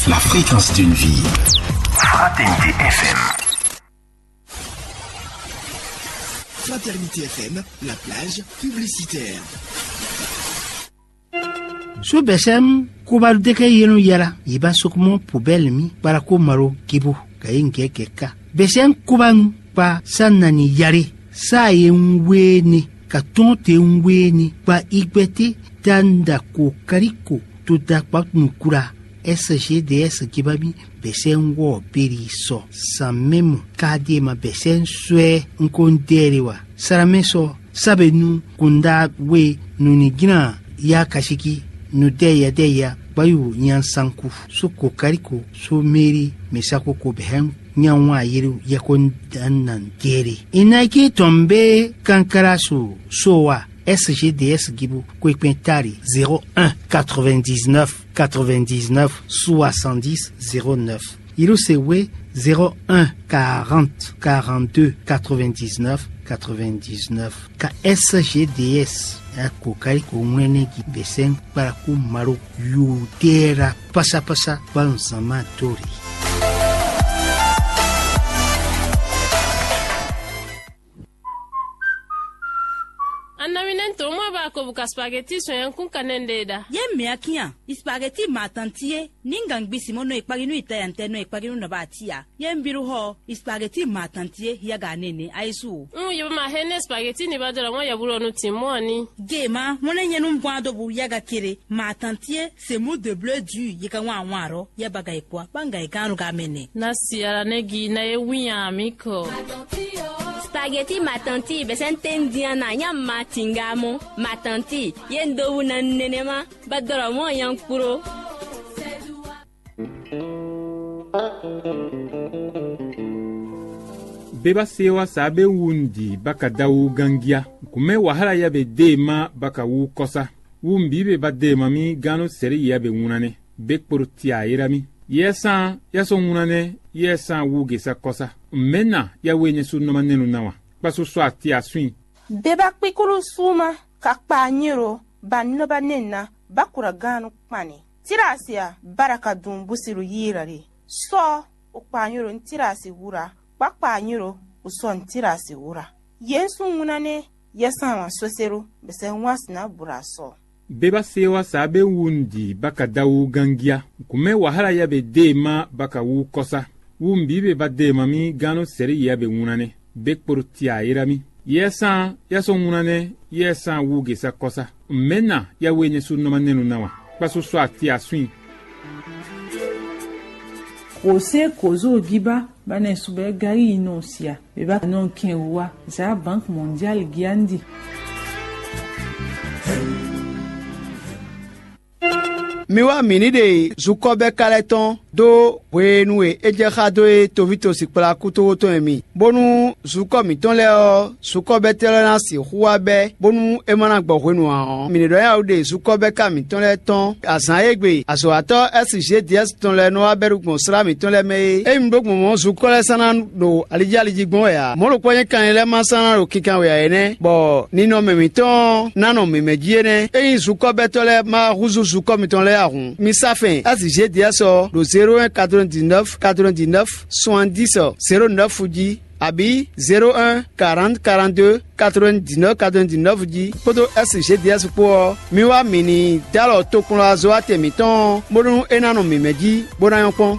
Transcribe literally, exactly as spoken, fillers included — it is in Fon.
La fréquence d'une vie. Fraternité F M. Fraternité F M, la plage publicitaire. Su bɛsɛm kubaɖu deke yenu yala yiba sokumɔ pubɛl mi kpara ko malo kibu ka yi ngɛ kɛ ka. Bɛsɛm kubanu kpa sa nani yale sa ye un wee ne ka tɔn te un wee ne kpa igbɛte da nda ko kariko to da kpa nukura. S G D S gibami bɛsɛn wɔ beri sɔ san mɛmu kadi ma bɛsɛn swɛ un ko ndɛɛre wa. Saramɛ sɔ sabe nu kunda we nunigina ya kasiki nu dɛ ya dɛ ya gbayu nyansanku so kokariko so meri mesako ko bɛhɛn nyanwa yeri yɛko nan dɛɛre. Inaiki tɔn be kankara so so wa. S G D S Gibu Kwekpɛn Tari zéro un quatre-vingt-dix-neuf quatre-vingt-dix-neuf soixante-dix zéro neuf. Yiruse we zéro un quarante quarante-deux quatre-vingt-dix-neuf quatre-vingt-dix-neuf. Ka S G D S ako kayiko ŋwɛnɛ gi bɛsɛn kparaku malo yudera pasapasa banzama dori. Annaminento mwa ba ko buka spaghetti so yankun kanende da. Ye mɛ akia, spaghetti matantie, ninga ngbisimo no ekpaginu itayante no ekpaginu na ba tia. Ye mbiru ho, spaghetti matantie yaga nene aisu. Mm, ye ma hene spaghetti ni ba dora mo ya bulo no timoni. Ge ma, mo ne nyenu bwa do bu yaga kere, matantie, c'est mou de bleu dur, ye ka wan wan ro, ye baga e kwa, banga e kanu ga mene. Na siara negi na ye winya mi ko. Spaghetti matanti bɛsɛn tendiana nya matinga mo matanti ye ndowu na nenema badɔrɔ mo nyankpuro. Beba sewa sa be wu ndi baka dawu gangia. Kume wahala ya be de ma baka wu kosa. Wu mbi be ba de ma mi ganu seri ya be wunane. Be kporo tia yera mi. Yɛ san ya sɔ ŋuna nɛ yɛ san wu gesa kɔsa. Mɛna ya we nyɛ su nɔma nɛnu na wa. Kpasu sɔ ati aswin. Beba kpikulu suma ka kpa nyiro ba nɔ ba nɛna ba kura ganu kpani. Tira asia baraka dun busiru yira de. Sɔ o kpa nyiro ntira asi wura. Kpakpa nyiro o sɔ ntira asi wura. Yen su ŋuna nɛ yɛ san wa soseru bese ŋwa sina bura sɔ. Beba sewa sa be wu ndi baka dawu gangia. Kume wahala ya be de ma baka wu kɔsa. Wu mbi be ba de ma mi ganu seri ya be ŋuna nɛ. Be kporo tia yera mi. Yɛ san ya sɔ ŋuna nɛ yɛ san wu gesa kɔsa. Mɛna ya we nyɛ su nɔma nɛnu na wa. Kpasu sɔ ati aswin. Kò sɛ́ kǒzó gíbá ba nɛ subɛ́ gáyi yi nɔ sia. Beba nɔ kɛn wá za Banque Mondiale giandi. Mi wá mǐ ní ɖe zukɔ́bɛ́ká lɛ́ɛ tɔn dó hwenu e é jɛ xá dó é toví tosi kplá kútówó tɔn e mi, bónú zukɔ́ mǐtɔn lɛ́ɛ ɔ́, zukɔ́bɛ́tɛ́ lɛ́ɛ ná sixú wá bɛ́, bónú é ma ná gbɔ hwenu ǎ ɔ́, mǐ ní ɖɔ nyawú ɖe zukɔ́bɛ́ká mǐtɔn lɛ́ɛ tɔn azǎn e gbe azɔ̌watɔ́ S G D S tɔn lɛ́ɛ nɔ wá bɛ́ ɖo gbɔn slá mǐtɔn lɛ́ɛ mɛ é. Ényí mi ɖó gbɔn mɔ̌ zukɔ́ lɛ́ɛ sán ná ɖo alijáliji gbɔn wɛ ǎ. Mɔ̌ ɖokpó nyí kanlin lɛ́ɛ ma sán ná ɖo kinkan wɛ ǎ é nɛ́, bɔ ninɔmɛ mǐtɔn ná nɔ mǐmɛ́ jí é nɛ́. Ényí zukɔ́bɛ́tɔ́ lɛ́ɛ ma húzú zukɔ́ mitɔn lɛ́ɛ ǎ hǔn, mi sá fɛn S G D S ɔ́ ɖo zéro un quatre-vingt-dix-neuf quatre-vingt-dix-neuf soixante-dix zéro neuf jí, abǐ zéro un quarante quarante-deux quatre-vingt-dix-neuf quatre-vingt-dix-neuf jí kpódó S G D S kpó ɔ́, mi wá mǐ ní d'alɔ tokpɔnlɔzɔ́watɛn mǐtɔn ɔ́, bónú é ná nɔ mǐmɛ́ jí, bó ná nyɔ́ kpɔ́n.